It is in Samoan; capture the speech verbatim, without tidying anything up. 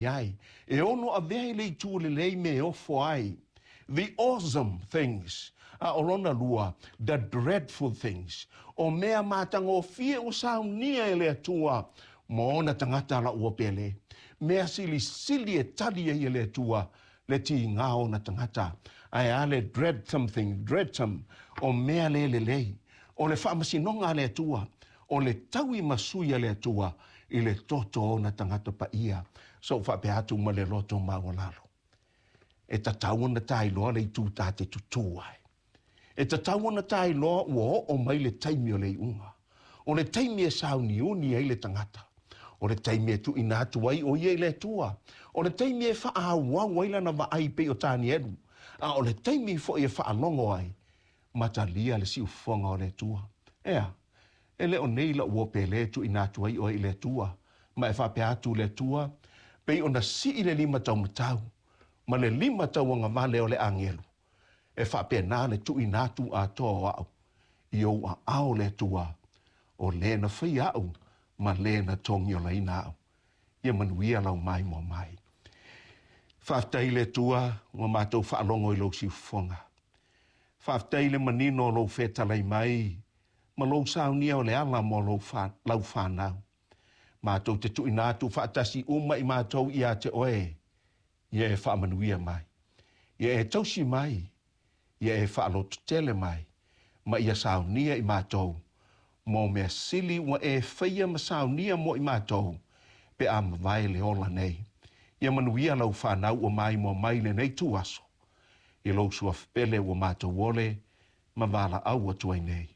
Ai e ono avea i le itu lelei me e ofo ai, the awesome things, a o lona lua, the dreadful things, o mea matagofie ua saunia e le Atua ma ona tagata la ua pele, mea silisili e tali ai e le Atua le tiga o ona tagata. Ae a le dread something, dreadsome, o mea le lelei, o le faamasinoga a le Atua, o le taui masui a le Atua i le toto o ona tagata paia. So faapea atu ma le loto maualalo, e tatau ona tailoa le itu ta te tutū ai. E tatau ona tailoa ua oo mai le taimi o le iuga. O le taimi e sauniuni ai le tagata. O le taimi e tuuina atu ai o ia i le Atua. O le taimi e faaauau ai lana vaai pei o Tanielu. A o le taimi foi e faalogo ai ma talia le siufofoga o le Atua. Ea, e le o nei lau uo pele e tuuina atu ai oe i le Atua. Ma e faapea atu le Atua, pei ona sii le lima taumatau ma le lima tauagavale o le agelu. E faapena le tuuina atu atoa o au i ou aao le Atua, o le na faia au ma le na togiolaina au. Ia manuia lau maimoa mai. Faafetai le Atua ua matou faalogo i lou siufofoga. Faafetai le manino o lou fetalai mai ma lou saunia o le ala mo lou fa, lau whanau. Matou te tuuina atu faatasi uma i matou ia te oe, ia e faamanuia mai. Ia e tausi mai, ia e faalototele mai, ma ia saunia i matou, mo mea sili ua e faia ma saunia mo i matou, pe a mavae le ola nei. Ia manuia lau whanau ua maimoa mai lenei tuaso, i lou suafa pele ua matou ole, ma valaau atu ai nei.